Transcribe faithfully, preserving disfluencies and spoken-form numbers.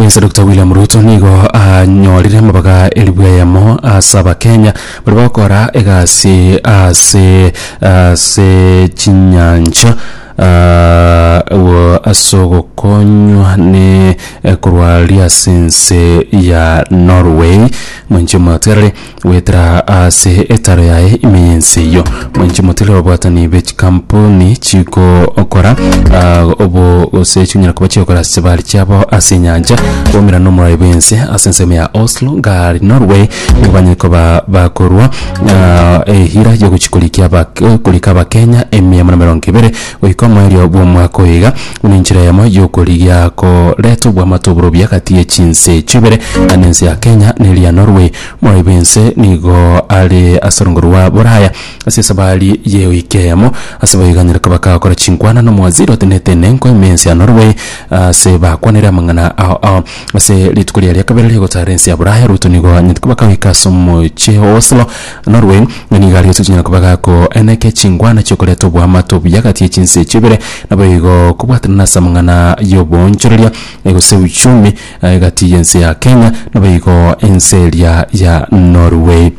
Bwense Doctor William Ruto nigo anyorire amabaga elibu eyemo ase Abakenya baria bagokora egasi ase ase chinyancha uh, ase ogokonywa ne korwa aria ase ense ya Norway. Mwanche omotigarere goetera ase etaro yaye ime y'ense eyio. Mwanche omotigarere ababwatani be chikampuni chigokora uh, obo gose chinyara koba chigokora ase chibari chiabo ase enyancha boumera na omorai bw'ense ase ensemo ya Oslo ngari Norway, nigo banyare koba bakorwa uh, ehira yogochi korikia aba korika Abakenya emia na emerongo ebere goika omoerio bw'omwaka oyo iga, buna enchera eyemo yokorigia koreta obwamate oborobia gati ye chinse echio ibere, naende ense ya Kenya na eria ya Norway. Omorai bw'ense nigo are ase orongo rwa Boraya ase esabari ye ewiki eyemo, ase boiganyire koba kagokora chinkwana na omowaziri otenete enenko ime ense ya Norway, ase bakwanire amang'ana ao ao. Ase rituko riaria kabere rigotara ense ya Buraya, Ruto nigo anyete koba kagoika ase omochie o Oslo, Norway, na nigo aria chinyara koba gakoeneke chinkwana chiokoreta obwamate obuya gati ye chinse echio ibere, naboigo kobwatana ase amang'ana y'oboonchoreria gose uchumi gati y'ense ya Kenya naboigo ense eria ya Norway.